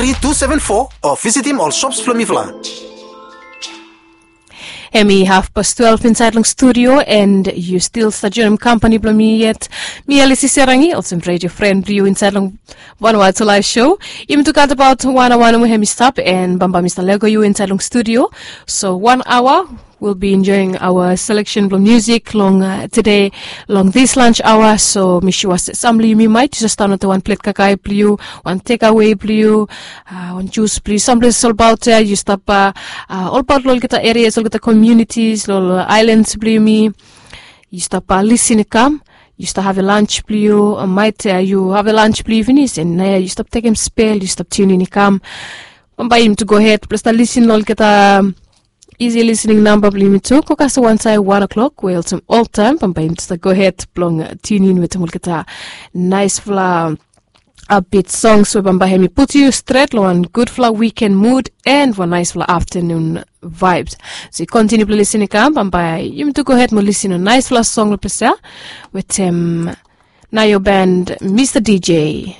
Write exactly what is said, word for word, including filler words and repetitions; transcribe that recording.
Three two seven four o visitim ol shops blong mifala. Hemi hafpas twelve insaed long studio, and yu stil stap joinim kampani blong mi yet. Mi Elisi Serangi, olsem redio fren blong yu insaed long Vanuatu Live Show. Yumi tu gat abaot wan aoa nomo hemi stap, and bambae mi stap lego yu insaed long studio. So wan aoa, we'll be enjoying our selection blong musik long tede, long this lunch hour. So mi sua se sam blong yumi maet yu jes stap wantaem wan plet kakae blong yu, wan tekawe blong yu, wan jus blong yu, sam ples olbaot ya yu stap, olbaot long olgeta erias, olgeta komiunitis long ol aelans blong yumi. Yu stap lisin i kam, yu stap have lunch blong yu, maet yu have lunch blong yu finis, and naoia yu stap tekem spel, yu stap tiunin i kam. Bambae yumi tu gohed blong stap lisin long olgeta isi lisining namba blong yumi tu go kasem wantaem wan o'clock we olsem oltaem bambae yumi tu stap gohed blong tiunin wetem olgeta naesfala upbeat songs we bambae hemi putum yu stret long wan gudfala wiken mud and wan naesfala aftanun vaebs. So yu kontiniu blong lisin i kam, bambae yumi tu gohed mo lisin long naesfala song long ples ya wetem Nayo Band, Mista DJ.